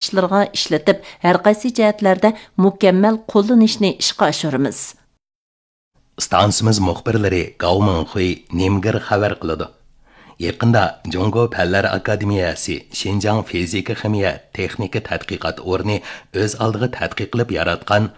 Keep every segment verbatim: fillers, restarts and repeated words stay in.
ئىشلىرىغا ئىشلىتىپ، ھەرقايسى جەھەتلەردە مۇكەممەل قوللىنىشنى ئىشقا ئاشۇرىمىز. ئىستانسىمىز مۇخبىرلىرى گاۋ مىڭخۇي نېمگېر خەۋەر قىلىدۇ. يېقىندا جۇڭگو پەنلەر ئاكادېمىيەسى شىنجاڭ فىزىكا خىمىيە تېخنىكا تەتقىقات ئورنى ئۆز ئالدىغا تەتقىق قىلىپ ياراتقان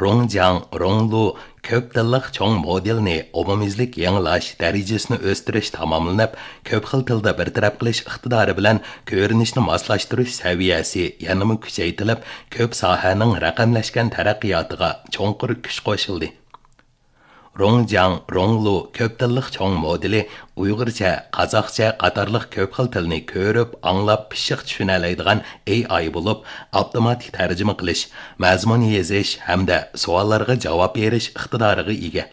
رۇڭجياڭ رۇڭلۇ كۆپ تىللىق چوڭ مودېلنى ئومۇميۈزلۈك يېڭىلاش دەرىجىسىنى ئۆستۈرۈش تاماملىنىپ، كۆپ خىل تىلدا بىر تەرەپ قىلىش ئىقتىدارى بىلەن كۆرۈنۈشنى ماسلاشتۇرۇش سەۋىيەسى يەنىمۇ كۈچەيتىلىپ، كۆپ ساھەنىڭ رەقەملەشكەن تەرەققىياتىغا چوڭقۇر كۈچ قوشۇلدى. رۇڭجياڭ رۇڭلۇ كۆپ تىللىق چوڭ مودېلى ئۇيغۇرچە، قازاقچە قاتارلىق كۆپ خىل تىلنى كۆرۈپ، ئاڭلاپ، پىششىق چۈشىنەلەيدىغان ئېي ئاي بولۇپ، ئاپتوماتىك تەرجىمە قىلىش، مەزمۇن يېزىش ھەمدە سوئاللارغا جاۋاب بېرىش ئىقتىدارىغا ئىگە.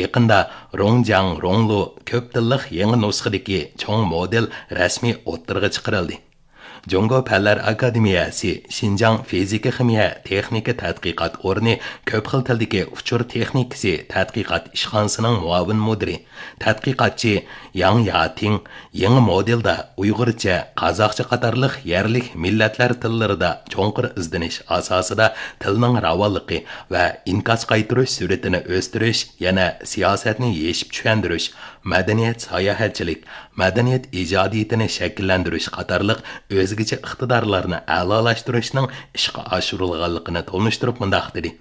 يېقىندا رۇڭجياڭ رۇڭلۇ كۆپ تىللىق يېڭى نۇسخىدىكى چوڭ مودېل رەسمىي ئوتتۇرىغا چىقىرىلدى. جۇڭگو پەنلەر ئاكادېمىيەسى شىنجاڭ فىزىكا خىمىيە تېخنىكا تەتقىقات ئورنى كۆپ خىل تىلدىكى ئۇچۇر تېخنىكىسى تەتقىقات ئىشخانىسىنىڭ مۇئاۋىن مۇدىرى، تەتقىقاتچى ياڭ ياتىڭ يېڭى مودېلدا ئۇيغۇرچە، قازاقچە قاتارلىق يەرلىك مىللەتلەر تىللىرىدا چوڭقۇر ئىزدىنىش ئاساسىدا تىلنىڭ راۋانلىقى ۋە ئىنكاس قايتۇرۇش سۈرئىتىنى ئۆستۈرۈش، يەنە سىياسەتنى يېشىپ چۈشەندۈرۈش، مەدەنىيەت ساياھەتچىلىك، مەدەنىيەت ئىجادىيىتىنى شەكىللەندۈرۈش قاتارلىق ئۆزگىچە ئىقتىدارلارنى ئەلالاشتۇرۇشنىڭ ئىشقا ئاشۇرۇلغانلىقىنى تونۇشتۇرۇپ مۇنداق دېدى: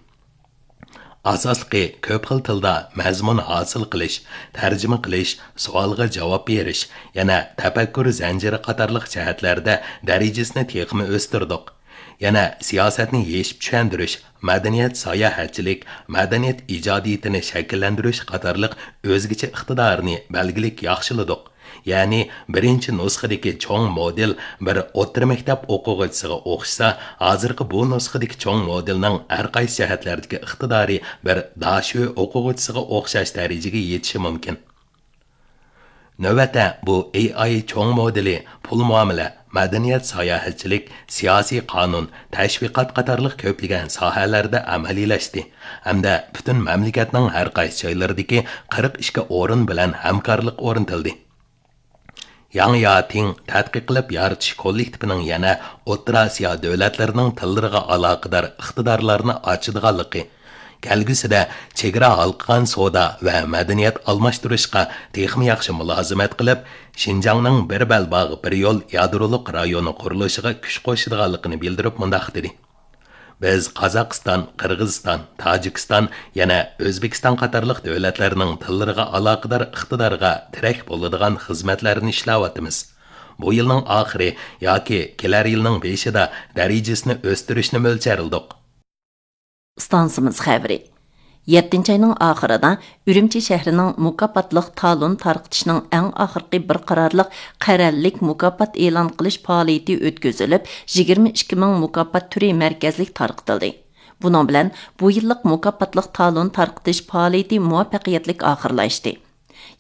ئاساسلىقى كۆپ خىل تىلدا مەزمۇن ھاسىل قىلىش، تەرجىمە قىلىش، سوئالغا جاۋاب بېرىش، يەنە تەپەككۇر زەنجىرى قاتارلىق جەھەتلەردە دەرىجىسىنى تېخىمۇ ئۆستۈردۇق. يەنە سىياسەتنى يېشىپ چۈشەندۈرۈش، مەدەنىيەت ساياھەتچىلىك، مەدەنىيەت ئىجادىيىتىنى شەكىللەندۈرۈش قاتارلىق ئۆزگىچە ئىقتىدارنى بەلگىلىك ياخشىلىدۇق. يەنى بىرىنچى نۇسخىدىكى چوڭ مودېل بىر ئوتتۇرا مەكتەپ ئوقۇغۇچىسىغا ئوخشىسا، ھازىرقى بۇ نۇسخىدىكى چوڭ مودېلنىڭ ھەر قايسى جەھەتلەردىكى ئىقتىدارى بىر داشۆ ئوقۇغۇچىسىغا ئوخشاش دەرىجىگە يېتىشى مۇمكىن. نۆۋەتتە بۇ ئېي ئاي چوڭ مودېلى پۇل مۇئامىلە، مەدەنىيەت ساياھەتچىلىك، سىياسىي قانۇن، تەشۋىقات قاتارلىق كۆپلىگەن ساھەلەردە ئەمەلىيلەشتى ھەمدە پۈتۈن مەملىكەتنىڭ ھەر قايسى جايلىرىدىكى قىرىق ئىككى ئورۇن بىلەن ھەمكارلىق ئورنىتىلدى. ياڭ ياتىڭ تەتقىق قىلىپ يارىتىش كوللېكتىپىنىڭ يەنە ئوتتۇرا ئاسىيا دۆلەتلىرىنىڭ تىللىرىغا ئالاقىدار ئىقتىدارلارنى ئاچىدىغانلىقى، كەلگۈسىدە چېگرا ھالقىغان سودا ۋە مەدەنىيەت ئالماشتۇرۇشقا تېخىمۇ ياخشى مۇلازىمەت قىلىپ، شىنجاڭنىڭ بىر بەلباغ، بىر يول يادرولۇق رايونى قۇرۇلۇشىغا كۈچ قوشىدىغانلىقىنى بىلدۈرۈپ مۇنداق دېدى: بىز قازاقىستان، قىرغىزىستان، تاجىكىستان، يەنە ئۆزبېكىستان قاتارلىق دۆلەتلەرنىڭ تىللىرىغا ئالاقىدار ئىقتىدارغا تىرەك بولىدىغان خىزمەتلەرنى ئىشلەۋاتىمىز. بۇ يىلنىڭ ئاخىرى ياكى كېلەر يىلنىڭ بېشىدا دەرىجىسىنى ئۆستۈرۈشنى مۆلچەرلىدۇق. ئىستانسىمىز خەۋىرى. يەتتىنچى ئاينىڭ ئاخىرىدا ئۈرۈمچى شەھىرىنىڭ مۇكاپاتلىق تالون تارقىتىشنىڭ ئەڭ ئاخىرقى بىر قارارلىق قەرەللىك مۇكاپات ئېلان قىلىش پائالىيىتى ئۆتكۈزۈلۈپ، يىگىرمە ئىككى مىڭ مۇكاپات تۈرى مەركەزلىك تارقىتىلدى. بۇنىڭ بىلەن بۇ يىللىق مۇكاپاتلىق تالون تارقىتىش پائالىيىتى مۇۋەپپەقىيەتلىك ئاخىرلاشتى.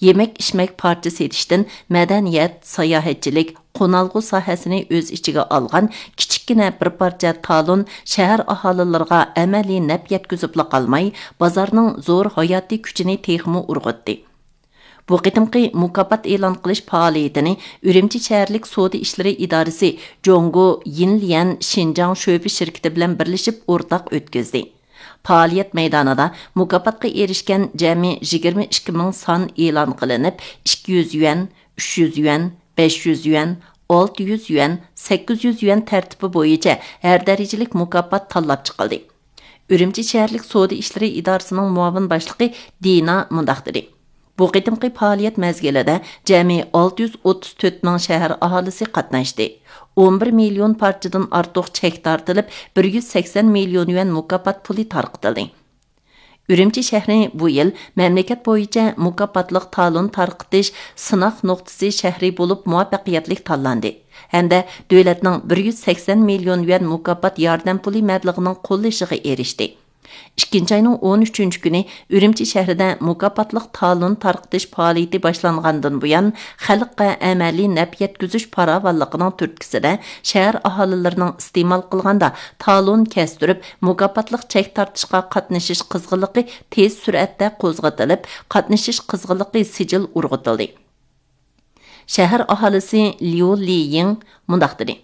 يېمەك-ئىچمەك پارچە سېتىشتىن مەدەنىيەت، ساياھەتچىلىك، قونالغۇ ساھەسىنى ئۆز ئىچىگە ئالغان كىچىككىنە بىر پارچە تالون شەھەر ئاھالىلىرىغا ئەمەلىي نەپ يەتكۈزۈپلا قالماي، بازارنىڭ زور ھاياتىي كۈچىنى تېخىمۇ ئۇرغۇتتى. بۇ قېتىمقى مۇكاپات ئېلان قىلىش پائالىيىتىنى ئۈرۈمچى شەھەرلىك سودا ئىشلىرى ئىدارىسى جۇڭگو يىنليەن شىنجاڭ شۆبە شىركىتى بىلەن بىرلىشىپ ئورتاق ئۆتكۈزدى. پائالىيەت مەيدانىدا مۇكاپاتقا ئېرىشكەن جەمئىي يىگىرمە ئىككى مىڭ سان ئېلان قىلىنىپ، ئىككى يۈز يۈەن، ئۈچ يۈز يۈەن، بەش يۈز يۈەن، ئالتە يۈز يۈەن، سەككىز يۈز يۈەن تەرتىپى بويىچە ھەر دەرىجىلىك مۇكاپات تاللاپ چىقىلدى. ئۈرۈمچى شەھەرلىك سودا ئىشلىرى ئىدارىسىنىڭ مۇئاۋىن باشلىقى دىنا مۇنداق دېدى: بۇ قېتىمقى پائالىيەت مەزگىلىدە جەمئىي ئالتە يۈز ئوتتۇز تۆت مىڭ شەھەر ئاھالىسى قاتناشتى. ئون بىر مىليون پارچىدىن ئارتۇق چەك تارتىلىپ، بىر يۈز سەكسەن مىليون يۈەن مۇكاپات پۇلى تارقىتىلدى. ئۈرۈمچى شەھىرى بۇ يىل مەملىكەت بويىچە مۇكاپاتلىق تالون تارقىتىش سىناق نۇقتىسى شەھىرى بولۇپ مۇۋەپپەقىيەتلىك تاللاندى ھەمدە دۆلەتنىڭ بىر يۈز سەكسەن مىليون يۈەن مۇكاپات ياردەم پۇلى مەبلىغىنىڭ قوللىشىغا ئېرىشتى. ئىككىنچى ئاينىڭ ئون ئۈچىنچى كۈنى ئۈرۈمچى شەھىرىدە مۇكاپاتلىق تالون تارقىتىش پائالىيىتى باشلانغاندىن بۇيان، خەلققە ئەمەلىي نەپ يەتكۈزۈش پاراۋانلىقىنىڭ تۈرتكىسىدە، شەھەر ئاھالىلىرىنىڭ ئىستېمال قىلغاندا تالون كەستۈرۈپ، مۇكاپاتلىق چەك تارتىشقا قاتنىشىش قىزغىنلىقى تېز سۈرئەتتە قوزغىتىلىپ، قاتنىشىش قىزغىنلىقى سىجىل ئۇرغۇتۇلدى. شەھەر ئاھالىسى ليۇ لىيىڭ مۇنداق دېدى: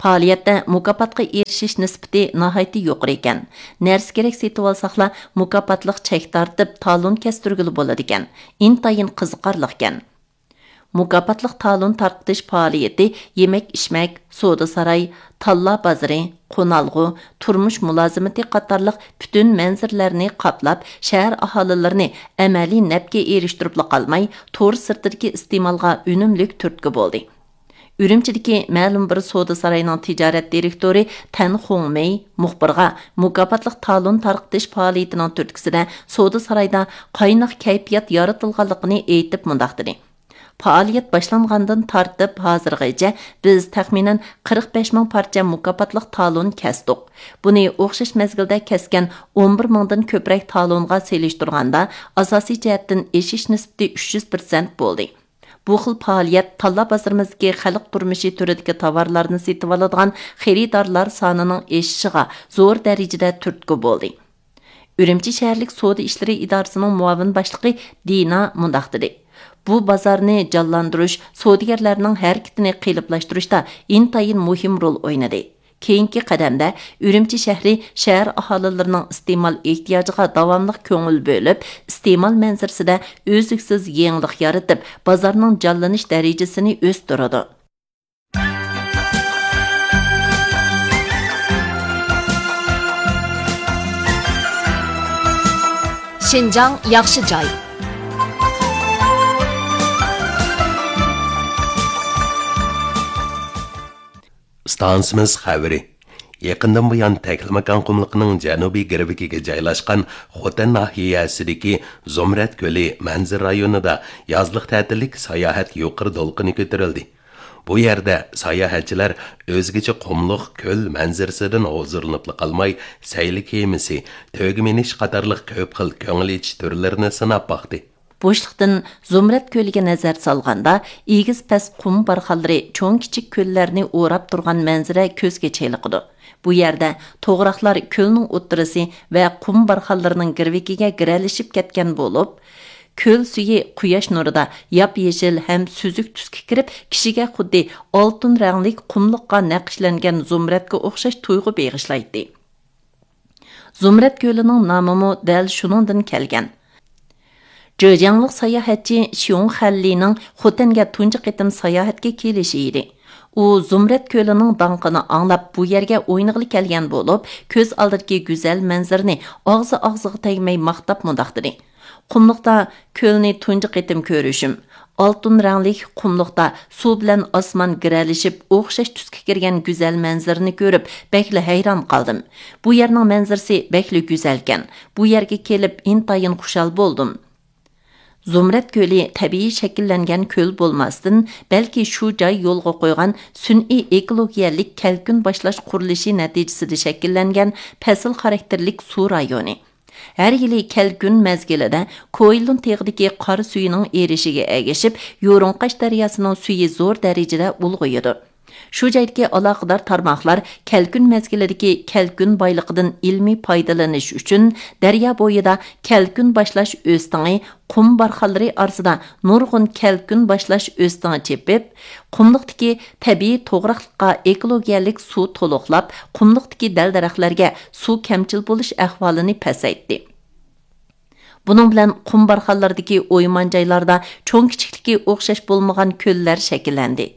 پائالىيەتتە مۇكاپاتقا ئېرىشىش نىسبىتى ناھايىتى يۇقىرى ئىكەن. نەرسە كېرەك سېتىۋالساقلا، مۇكاپاتلىق چەك تارتىپ، تالون كەستۈرگىلى بولىدىكەن. ئىنتايىن قىزىقارلىق ئىكەن. مۇكاپاتلىق تالون تارقىتىش پائالىيىتى يېمەك-ئىچمەك، سودا ساراي، تاللا بازىرى، قونالغۇ، تۇرمۇش مۇلازىمىتى قاتارلىق پۈتۈن مەنزىرىلەرنى قاپلاپ، شەھەر ئاھالىلىرىنى ئەمەلىي نەپكە ئېرىشتۈرۈپلا قالماي، تور سىرتىدىكى ئىستېمالغا ئۈنۈملۈك تۈرتكە بولدى. ئۈرۈمچىدىكى مەلۇم بىر سودا ساراينىڭ تىجارەت دىرېكتورى تەن خۇڭمېي مۇخبىرغا مۇكاپاتلىق تالون تارقىتىش پائالىيىتىنىڭ تۈرتكىسىدە سودا سارايدا قايناق كەيپىيات يارىتىلغانلىقىنى ئېيتىپ مۇنداق دېدى: پائالىيەت باشلانغاندىن تارتىپ ھازىرغىچە بىز تەخمىنەن قىرىق بەش مىڭ پارچە مۇكاپاتلىق تالون كەستۇق. بۇنى ئوخشاش مەزگىلدە كەسكەن ئون بىر مىڭدىن كۆپرەك تالونغا سېلىشتۇرغاندا، ئاساسىي جەھەتتىن ئېشىش نىسبىتى ئۈچ يۈز پىرسەنت بولدى. بۇ خىل پائالىيەت تاللا بازىرىمىزدىكى خەلق تۇرمۇشى تۈرىدىكى تاۋارلارنى سېتىۋالىدىغان خېرىدارلار سانىنىڭ ئېشىشىغا زور دەرىجىدە تۈرتكە بولدى. ئۈرۈمچى شەھەرلىك سودا ئىشلىرى ئىدارىسىنىڭ مۇئاۋىن باشلىقى دىنا مۇنداق دېدى: بۇ بازارنى جانلاندۇرۇش، سودىگەرلەرنىڭ ھەرىكىتىنى قېلىپلاشتۇرۇشتا ئىنتايىن مۇھىم رول ئوينىدى. كېيىنكى قەدەمدە ئۈرۈمچى شەھىرى شەھەر ئاھالىلىرىنىڭ ئىستېمال ئېھتىياجىغا داۋاملىق كۆڭۈل بۆلۈپ، ئىستېمال مەنزىرىسىدە ئۈزلۈكسىز يېڭىلىق يارىتىپ، بازارنىڭ جانلىنىش دەرىجىسىنى ئۆستۈرىدۇ. شىنجاڭ ياخشى جاي. ئىستانسىمىز خەۋىرى. يېقىندىن بۇيان، تەكلىماكان قۇملۇقىنىڭ جەنۇبىي گىرۋىكىگە جايلاشقان خوتەن ناھىيەسىدىكى زۇمرەت كۆلى مەنزىرە رايونىدا يازلىق تەتىللىك ساياھەت يۇقىرى دولقۇنى كۆتۈرۈلدى. بۇ يەردە ساياھەتچىلەر ئۆزگىچە قۇملۇق كۆل مەنزىرىسىدىن ھۇزۇرلىنىپلا قالماي، سەيلە كېمىسى، تۆگە مىنىش قاتارلىق كۆپ خىل كۆڭۈل ئېچىش تۈرلىرىنى سىناپ باقتى. بوشلۇقتىن زۇمرەت كۆلىگە نەزەر سالغاندا، ئېگىز پەس قۇم بارخانلىرى چوڭ كىچىك كۆللەرنى ئوراپ تۇرغان مەنزىرە كۆزگە چېلىقىدۇ. بۇ يەردە توغراقلار كۆلنىڭ ئوتتۇرىسى ۋە قۇم بارخانلىرىنىڭ گىرۋىكىگە گىرەلىشىپ كەتكەن بولۇپ، كۆل سۈيى قۇياش نۇرىدا ياپيېشىل ھەم سۈزۈك تۈسكە كىرىپ، كىشىگە خۇددى ئالتۇن رەڭلىك قۇملۇققا نەقىشلەنگەن زۇمرەتكە ئوخشاش تۇيغۇ بېغىشلايتتى. زۇمرەت كۆلىنىڭ نامىمۇ دەل شۇنىڭدىن كەلگەن. جېجياڭلىق ساياھەتچى شيۇڭ خەنلىنىڭ خوتەنگە تۇنجى قېتىم ساياھەتكە كېلىشى ئىدى. ئۇ زۇمرەت كۆلىنىڭ داڭقىنى ئاڭلاپ، بۇ يەرگە ئوينىغىلى كەلگەن بولۇپ، كۆز ئالدىدىكى گۈزەل مەنزىرىنى ئاغزى ئاغزىغا تەگمەي ماختاپ مۇنداق دېدى: قۇملۇقتا كۆلنى تۇنجى قېتىم كۆرۈشۈم. ئالتۇن رەڭلىك قۇملۇقتا سۇ بىلەن ئاسمان گىرەلىشىپ، ئوخشاش تۈسكە كىرگەن گۈزەل مەنزىرىنى كۆرۈپ، بەكلا ھەيران قالدىم. بۇ يەرنىڭ مەنزىرىسى بەكلا گۈزەلكەن. بۇ يەرگە كېلىپ، ئىنتايىن خۇشال بولدۇم. زۇمرەت كۆلى تەبىئىي شەكىللەنگەن كۆل بولماستىن، بەلكى شۇ جاي يولغا قويغان سۈنئىي ئېكولوگىيەلىك كەلكۈن باشلاش قۇرۇلۇشى نەتىجىسىدە شەكىللەنگەن پەسىل خاراكتېرلىك سۇ رايونى. ھەر يىلى كەلكۈن مەزگىلىدە كوئىلۇن تېغىدىكى قار سۈيىنىڭ ئېرىشىشىگە ئەگىشىپ، يورۇڭقاش دەرياسىنىڭ سۈيى زور دەرىجىدە ئۇلغىيىدۇ. شۇ جايدىكى ئالاقىدار تارماقلار كەلكۈن مەزگىلىدىكى كەلكۈن بايلىقىدىن ئىلمىي پايدىلىنىش ئۈچۈن دەريا بويىدا كەلكۈن باشلاش ئۆستىڭى، قۇم بارخانلىرى ئارىسىدا نۇرغۇن كەلكۈن باشلاش ئۆستىڭى چېپىپ، قۇملۇقتىكى تەبىئىي توغراقلىققا ئېكولوگىيەلىك سۇ تولۇقلاپ، قۇملۇقتىكى دەل-دەرەخلەرگە سۇ كەمچىل بولۇش ئەھۋالىنى پەسەيتتى. بۇنىڭ بىلەن قۇم بارخانلىرىدىكى ئويمان جايلاردا چوڭ-كىچىكلىكى ئوخشاش بولمىغان كۆللەر شەكىللەندى.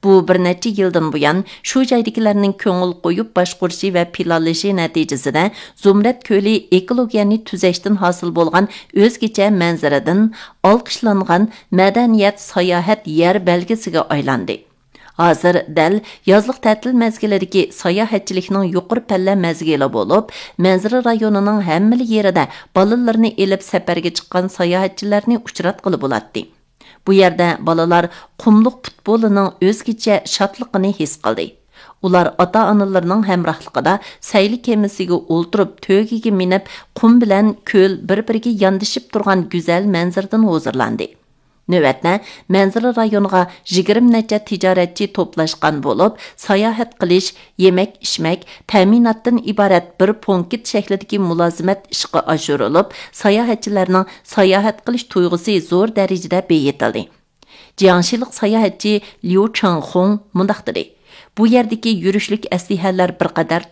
بۇ بىر نەچچە يىلدىن بۇيان شۇ جايدىكىلەرنىڭ كۆڭۈل قويۇپ باشقۇرۇشى ۋە پىلانلىشى نەتىجىسىدە، زۇمرەت كۆلى ئېكولوگىيەنى تۈزەشتىن ھاسىل بولغان ئۆزگىچە مەنزىرىدىن ئالقىشلانغان مەدەنىيەت ساياھەت يەر بەلگىسىگە ئايلاندى. ھازىر دەل يازلىق تەتىل مەزگىلىدىكى ساياھەتچىلىكنىڭ يۇقىرى پەللە مەزگىلى بولۇپ، مەنزىرە رايونىنىڭ ھەممىلا يېرىدە بالىلىرىنى ئېلىپ سەپەرگە چىققان ساياھەتچىلەرنى ئۇچراتقىلى بولاتتى. بۇ يەردە بالىلار قۇملۇق پۇتبولىنىڭ ئۆزگىچە شادلىقىنى ھېس قىلدى. ئۇلار ئاتا-ئانىلىرىنىڭ ھەمراھلىقىدا سەيلە كېمىسىگە ئولتۇرۇپ، تۆگىگە مىنىپ، قۇم بىلەن كۆل بىر-بىرىگە ياندىشىپ تۇرغان گۈزەل مەنزىرىدىن ھۇزۇرلاندى. نۆۋەتتە مەنزىرە رايونىغا يىگىرمە نەچچە تىجارەتچى توپلاشقان بولۇپ، ساياھەت قىلىش، يېمەك-ئىچمەك، تەمىناتتىن ئىبارەت بىر پونكىت شەكلىدىكى مۇلازىمەت ئىشقا ئاشۇرۇلۇپ، ساياھەتچىلەرنىڭ ساياھەت قىلىش تۇيغۇسى زور دەرىجىدە بېيىتىلدى. جياڭشىلىق ساياھەتچى ليۇ چېڭخۇڭ مۇنداق دېدى: بۇ يەردىكى يۈرۈشلۈك ئەسلىھەلەر بىر قەدەر